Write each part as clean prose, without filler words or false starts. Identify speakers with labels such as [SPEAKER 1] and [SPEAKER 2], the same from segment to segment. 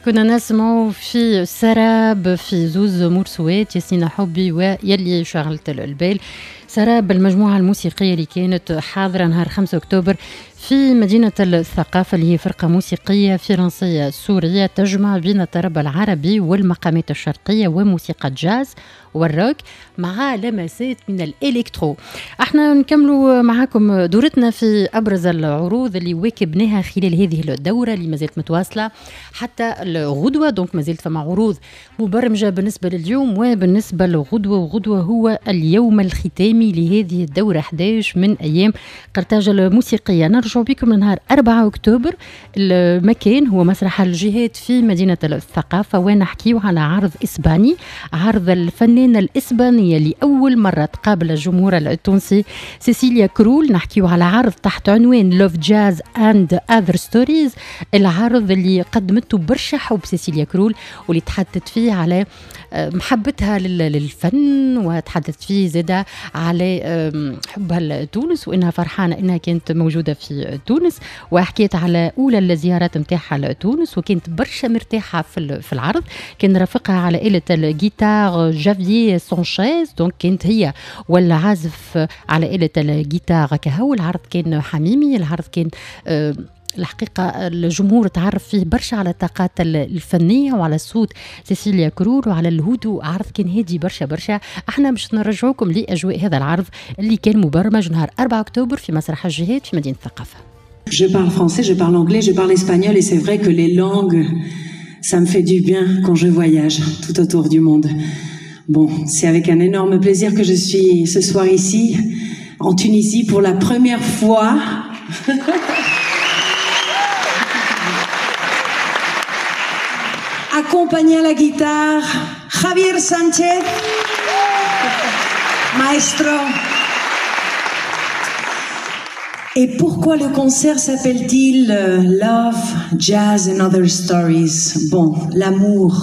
[SPEAKER 1] كنا نسمع في سراب في زوز مرسوات، ياسين حبي ويلي شغلت البال. سراب المجموعة الموسيقية اللي كانت حاضرة نهار 5 أكتوبر في مدينة الثقافة، اللي هي فرقة موسيقية فرنسية سورية تجمع بين الطرب العربي والمقامات الشرقية وموسيقى الجاز والروك مع لمسات من ال électro. احنا نكملوا معاكم دورتنا في أبرز العروض اللي واكبناها خلال هذه الدورة اللي مازالت متواصلة حتى الغدوة. donc مازالت فما عروض مبرمجة بالنسبة لليوم وبالنسبة للغدوة، وغدوة هو اليوم الختامي لهذه الدورة 11 من أيام قرطاج الموسيقية. نرجع بكم لنهار 4 أكتوبر، المكان هو مسرح الجهات في مدينة الثقافة، ونحكيو على عرض إسباني، عرض الفنانة الإسبانية لأول مرة تقابل الجمهور التونسي سيسيليا كرول. نحكيو على عرض تحت عنوان Love Jazz and Other Stories، العرض اللي قدمته برشا حب سيسيليا كرول واللي تحدثت فيه على محبتها للفن، وتحدثت فيه زادة على حبها لتونس وإنها فرحانة إنها كانت موجودة في تونس، وحكيت على أولى الزيارات متاعها لتونس وكانت برشا مرتاحة في العرض. كان رافقها على آلة الجيتار جافيي سانشيز، donc كانت هي والعازف على آلة الجيتار كهو. العرض كان حميمي، العرض كان الحقيقة الجمهور تعرف فيه برشا على الطاقات الفنية وعلى صوت سيسيليا كرول وعلى الهدوء. عرض كان هادي برشا برشا. احنا باش نرجعوكم لأجواء هذا العرض اللي كان مبرمج نهار 4 أكتوبر في مسرح الجهات في مدينة الثقافة.
[SPEAKER 2] Je parle français, je parle anglais, je parle espagnol et c'est vrai que les langues, ça me fait du bien quand je voyage tout autour du monde. Bon, c'est avec un énorme plaisir que je suis ce soir ici, en Tunisie, pour la première fois. Accompagné à la guitare, Javier Sanchez, maestro. Et pourquoi le concert s'appelle-t-il Love, Jazz and Other Stories? Bon, l'amour,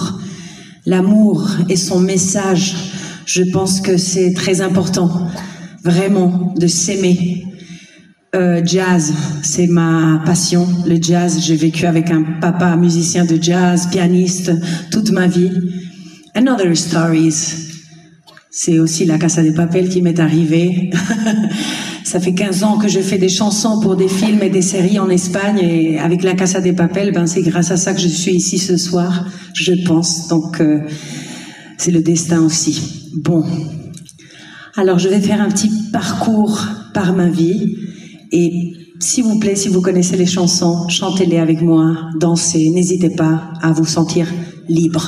[SPEAKER 2] l'amour et son message, je pense que c'est très important, vraiment, de s'aimer. Jazz, c'est ma passion, le jazz. J'ai vécu avec un papa musicien de jazz, pianiste, toute ma vie. And Other Stories, c'est aussi la Casa de Papel qui m'est arrivée. Ça fait 15 ans que je fais des chansons pour des films et des séries en Espagne, et avec la Casa de Papel, ben c'est grâce à ça que je suis ici ce soir, je pense. Donc c'est le destin aussi. Bon, alors je vais faire un petit parcours par ma vie. Et s'il vous plaît, si vous connaissez les chansons, chantez-les avec moi, dansez, n'hésitez pas à vous sentir libre.